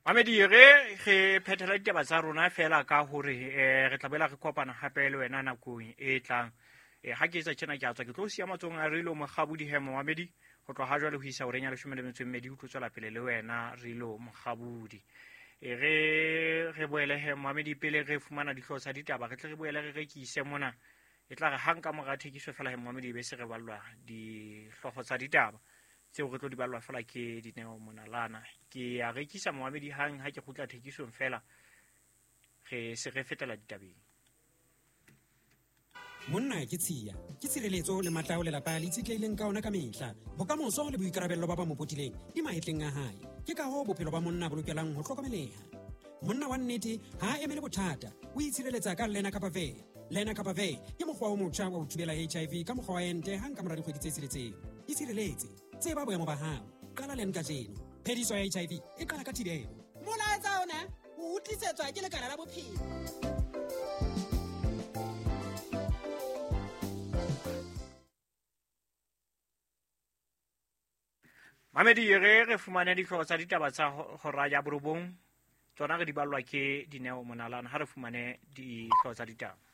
Mamedi, re phethela ditaba tsa rona fela ka hore re tla boela re kopana hape le wena nakong e tlang. Ha ke etsa tjena ke a tswa, ke tlo siya matsohong a Rilo Mokgabudi. He momamedi, ho tloha ha jwale ho isa horeng ya 12 o tlo tswela pele le wena Rilo Mokgabudi. Re boele he momamedi, pele re fumana dihlooho tsa ditaba, re tle re boele re rekise mona. E tla re hang ka mora thekiso fela he momamedi, e be se re ballwa dihlooho tsa ditaba tseo re tlo di ballwa fela ke Dineo Monalana. Ke a rekisa momamedi, hang ha ke kgutla thekisong fela re se re fetela ditabeng. Monna ke tshiya, ke tshireletso le matla ao lelapa le itshetlehileng ka ona ka mehla. Bokamoso le boikarabello ba ba mo potileng di mahetleng a hae. Ke ka hoo bophelo ba monna bo lokelang ho hlokomeleha. Monna wa nnete ha a emele bothata, o itshireletsa ka Lenacapavir. Lenacapavir ke mokgwa o motjha wa ho thibela HIV ka mokgwa wa ente hang ka mora dikgwedi tse 6. Itshireletse, tseba boemo ba hao, qala len kajeno. Phediso ya HIV e qala ka thibelo. Molaetsa ona o utlisetswa ke lekala la bophelo. Mamedi, re fumane dihlooho tsa ditaba tsa hora ya 9, tsona re di ballwa ke Dineo Monalana. Ha re fumane dihlooho tsa ditaba.